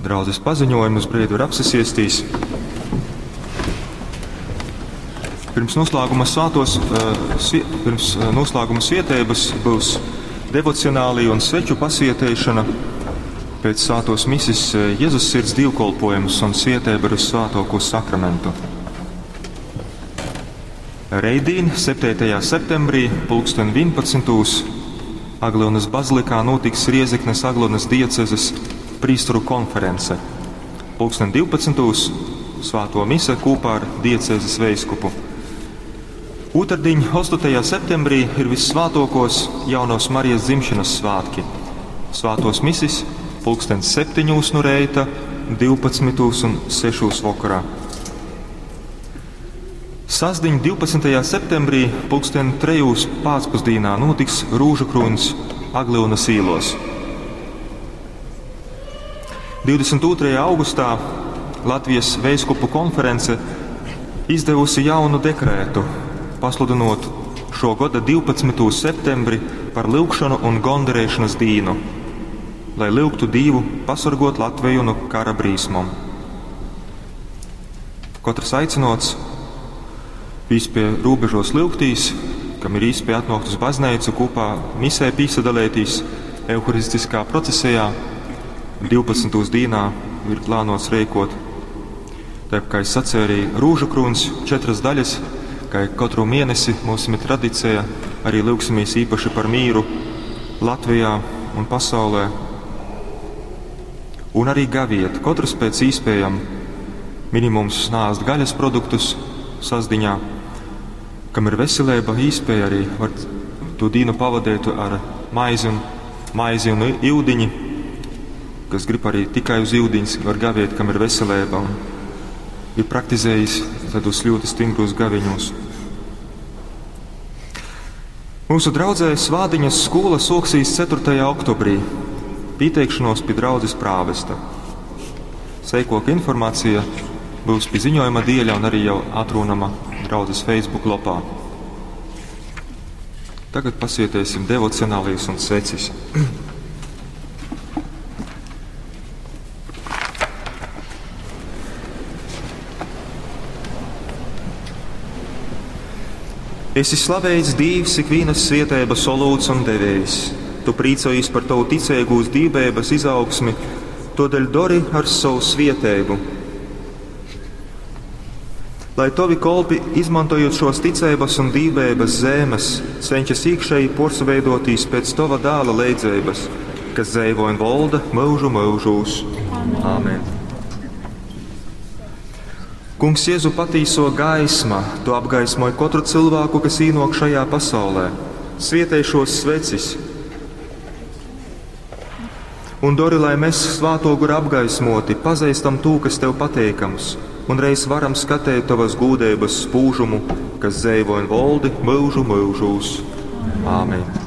Draudzes paziņojumus brīdi var apsasiestīs. Pirms noslēguma, svētos, eh, pirms eh, noslēguma svietības būs devocionālī un sveču pasvietēšana, pēc svētos misis eh, Jēzus sirds dievkolpojums un svietēba ar svētoko sakramentu. Reidīn, 7. septembrī, pulksten 11. Aglionas bazilikā notiks Riezeknes Aglionas diecezes prīsteru konference. Pulksten 12. svēto mise kopā ar diecezes veiskupu. Otrdiņ, 8. septembrī, ir vissvētokos jaunos Marijas dzimšanas svētki. Svētos misis pulksten 7 no reita, 12 un 6 vakarā. Sasdiņ 12. septembrī pulksten 3 pēcpusdienā notiks Rūžu krūns Aglionas īlos. 22. augustā Latvijas Veiskupu konference izdevusi jaunu dekrētu, pasludinot šo gada 12. septembri par lyugšanu un gondarēšanas dīnu, lai lyugtu Dievu pasargot Latviju no kara brīsmom. Katrs aicinots pie robežos lyugtīs, kam ir īspēja atnākt uz baznīcu kopā misē pīsadalētīs euharistiskā procesijā, 12. dīnā ir plānots rēkot. Tā kā es sacīju, arī rūžu krūns četras daļas, kā katru mēnesi mums ir tradicija, arī lūgsimies īpaši par mīru Latvijā un pasaulē. Un arī gaviet, katrs pēc īspējam minimums nāst gaļas produktus sasdiņā, kam ir veselība, īspēja arī var to dīnu pavadīt ar maizi un, maizi un iudiņi, kas grib arī tikai uz iudiņas, var gaviet, kam ir veselība un ir praktizējis tādus ļoti stingrus gaviņos. Mūsu draudzē Svādiņas skola soksīs 4. oktobrī pieteikšanos pie draudzes prāvesta. Seikoka informācija būs pie ziņojuma dieļa un arī jau atrunama draudzes Facebook lopā. Tagad pasietēsim devocionālijas un svecis. Esi slavēts Dīvs, ikvienas svietēbas olūts un devējs. Tu prīcojies par tavu ticīgūs dībēbas izaugsmi, todēļ dori ar savu svietēbu. Lai tovi kolpi, izmantojot šos ticības un dībēbas zēmes, cenšas iekšēji porsveidotīs pēc tova dāla leidzības, kas dzēvo un volda mūžu mūžūs. Āmen. Kungs Jēzu patīso gaisma, tu apgaismoji katru cilvēku, kas īnok šajā pasaulē. Svietēj šos svecis. Un dori, lai mēs svāto guru apgaismoti, pazīstam to, kas tev pateikams, un reiz varam skatīt tavas gūdības spūžumu, kas dzēvo un voldi mūžu mūžūs. Āmen.